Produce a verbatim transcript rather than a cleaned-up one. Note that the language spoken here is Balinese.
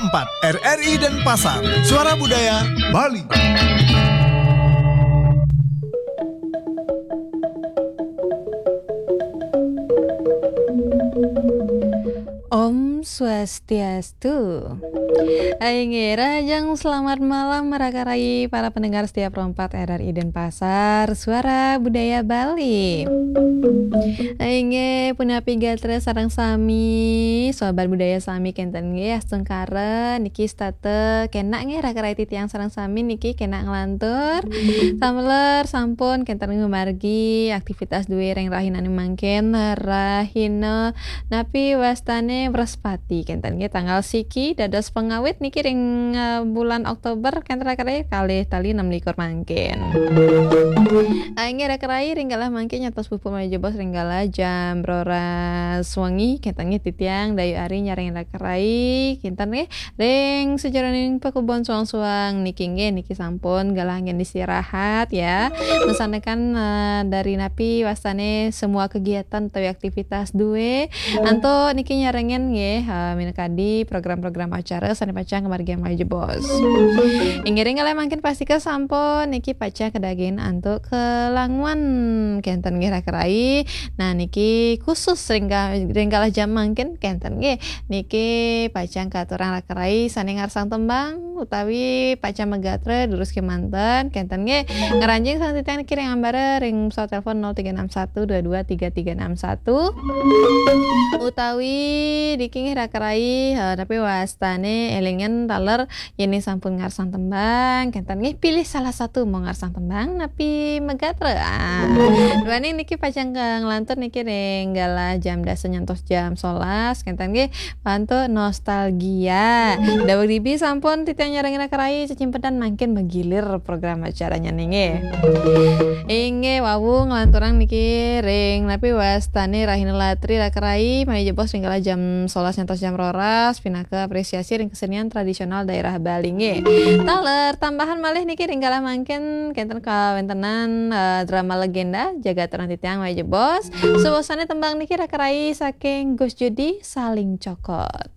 empat, R R I Denpasar, Suara Budaya Bali. Om Swastiastu. Hai, nggih, rahajeng selamat malam, raka rai, para pendengar setia Pro empat R R I Denpasar, Suara Budaya Bali. Hai, nggih, punapi gatra sareng sami, sobat budaya sami kenten nggih, astungkara niki setata kenak nggih, raka rai, titiang sareng sami niki kenak nglantur. Sameler sampun kenten ngamargi aktivitas duwe ring rahinaning mangkin, rahina napi wastane Wrespati kenten nggih, tanggal siki dados pengawit niki ring, eh, bulan Oktober kenten, raka rai, kalih tali enam likur mangkin. Ah, inggih, raka rai, ring galah mangkin nyantos puput malih jebos ring galah jam roras wengi kenten nggih, titiang Dayu Ari nyarengin raka rai kenten nggih, ring sajeroning pakubon suang-suang niki nggih, niki sampun galah anggen istirahat ya. Masandekan, eh, dari napi wastane semua kegiatan utawi aktivitas duwe, antuk niki nyarengin nggih, eh, minakadi program-program acara sane pacang ngamargiang malih jebos. Inggih, ring galah mangkin pastika sampun niki pacang kadagingin antuk kelanguan kenten nggih, raka rai. Nah, niki khusus ring ga-, ring galah jam mangkin kenten nggih. Niki pacang katurang raka rai sane ngarsang tembang utawi pacang magatra durus kemanten kenten nggih. Ngranjing sareng titiang niki ring ambara ring pesawat telepon nol tiga enam satu dua dua tiga tiga enam satu utawi niki nggih, raka rai, eh, napi wastane elingan taler yen sampun ngarsang tembang kenten nggih, pilih salah satu mau ngarsang tembang napi magatra. Ah, duaning niki pacang ka nglantur niki ring galah jam dasa nyantos jam solas kenten nggih, antuk nostalgia. Daweg dibi sampun titiang nyarengin raka rai cecimpedan mangkin magilir program acaranya nggih. Inggih, wau nglanturang niki ring napi wastane rahina latri, raka rai, malih jebos ring galah jam solas nyantos jam roras pinaka apresiasi ring kesenian tradisional daerah Bali nggih. Taler tambahan malih niki ring galah mangkin kenten kawentenan, eh, drama legenda Jagat Terang Titiang malih jebos. Suwasane tembang niki, raka rai, saking Gus Judi, Saling Cokot.